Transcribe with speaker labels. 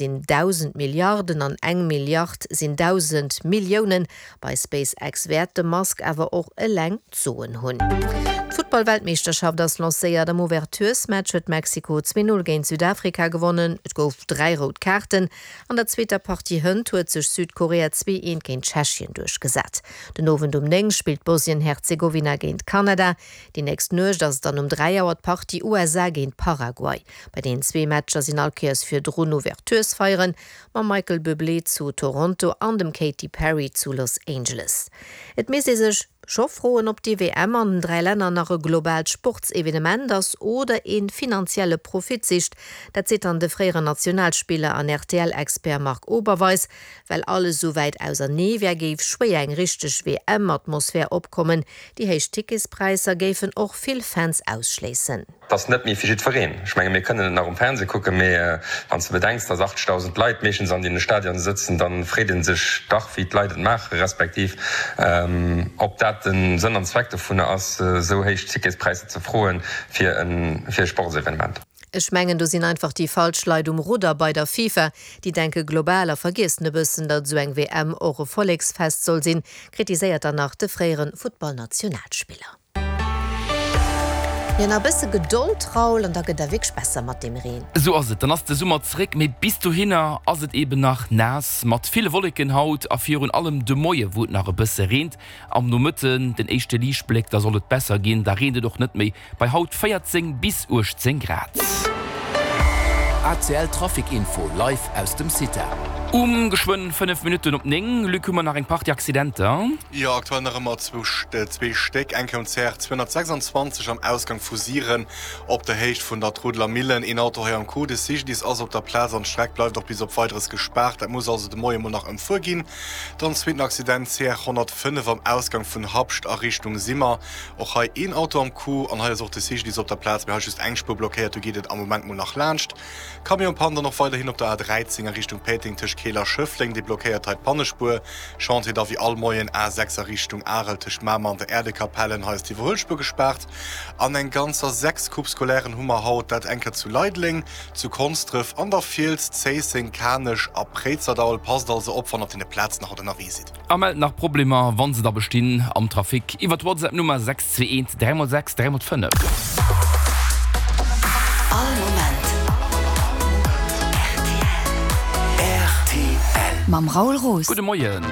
Speaker 1: Sinn 1.000 Milliarden an eng Milliard sinn 1.000 Milliounen. Bei SpaceX wäert de Musk awer och eleng d'Soen hunn. D'Futtball-Weltmeeschterschaft ass lancéiert. Am Ouverturesmatch huet Mexiko 2, 0 géint Südafrika gewonnen. Et gouf 3 rout Kaarten. An der zweeter Partie hënt huet sech Südkorea 2, 1 géint Tschechien duerchgesat. Den Owend um 9 spillt Bosnien-Herzegowina géint Kanada. Déi nächst Nuecht ass et dann um 3 Auer d'Partie USA géint Paraguay. Bei deenen zwee Matcher sinn all Kéiers virdrun Ouverturesfeieren, mam Michael Bublé zu Toronto an dem Katy Perry zu Los Angeles. Et misst ee sech scho froen, ob déi WM an den 3 Länner nach e globaalt Sportsevenement ass oder ee finanzielle Profit sicht. Dat seet dann de fréieren Nationalspiller an RTL-Expert Marc Oberweis. Well alles esou wäit ausernee wär, géif schwéier eng richteg WM-Atmosphär opkommen. Déi héich Ticketspräisser géifen och vill Fans ausschléissen.
Speaker 2: Et ass net méi fir jiddwereen. Ech menge mir kënnen et nach um Fernseh kucken, mee wann s de bedenks, datt 80.000 Leit meeschtens an deene Stadionen sëtzen, da freet ee sech dach, wéi d'Leit et maachen, respektiv ob dat de Sënn an Zweck dovunner ass, esou héich Ticketspräisser ze froen fir e Sportsevenement.
Speaker 1: Ech mengen, do sinn einfach déi falsch Leit um Rudder bei der FIFA. Déi denke global a vergiessen e bëssen, datt esou eng WM och e Volleksfest soll sinn, kritiséiert dann nach de fréiere Futtballnationalspiller. Jo, nach e bësse Gedold, Raoul, an da gëtt der wierklech besser mat deem Reen.
Speaker 3: Esou ass et, dann ass de Summer zeréck, mee bis dohinner ass et eben nach naass, mat ville Wolleken haut a virun allem de Moie wou et nach e bësse reent. Am Nomëtten den éischte Liichtbléck, da soll et besser ginn, da reent et och net méi, bei haut 14 bis 18 Grad.
Speaker 4: ACL Trafic Info live aus dem CITA.
Speaker 3: Um geschwënn 5 Minutten op 9, Luc, hu mer nach eng Partie Accidenter.
Speaker 5: Jo, aktuell nach ëmmer zwou Stéck. Eng Kéier um CR 226 am Ausgang vu Siren op der Héicht vun der Trudeler Millen. Een Auto hei am Coup. De CGDIS ass op der Plaz an d'Streck bleift och bis op Weideres gespaart. Dat muss also de Moie mol nach ëmfuer ginn. Dann zweeten Accident, CR 105 am Ausgang vun Habscht a Richtung Simmer. Och hei een Auto am Coup an hei ass och de CGDIS op der Plaz, mee hei just eng Spuer blockéiert. Do geet et am Moment mol nach laanscht. Camion-Panne dann och weiderhin op der A13 a Richtung Péiteng tëscht Keel a Schëffleng, déi blockéiert hei d'Pannespuer. Chantier da wéi all Moien A6 a Richtung Arel tëscht Mamer an der Äerdekapellen, hei ass d'Iwwerhuelspuer gespaart. An eng ganzer 6 Coupes scolairen hu mer haut, dat eng Kéier zu Leideleng, zu Konsdref, an der Fiels, Zéisseng, Kanech a Préizerdaul. Passt also op wann op deene Plazen haut ënnerwee sidd.
Speaker 3: A mellt nach Problemer, wann se da bestinn, am Trafic iwwer d'Whatsapp Nummer 621 3 x 6 3 x 5.
Speaker 4: All Moment rtl. Mam Raoul Roos.
Speaker 3: Gudde Moien.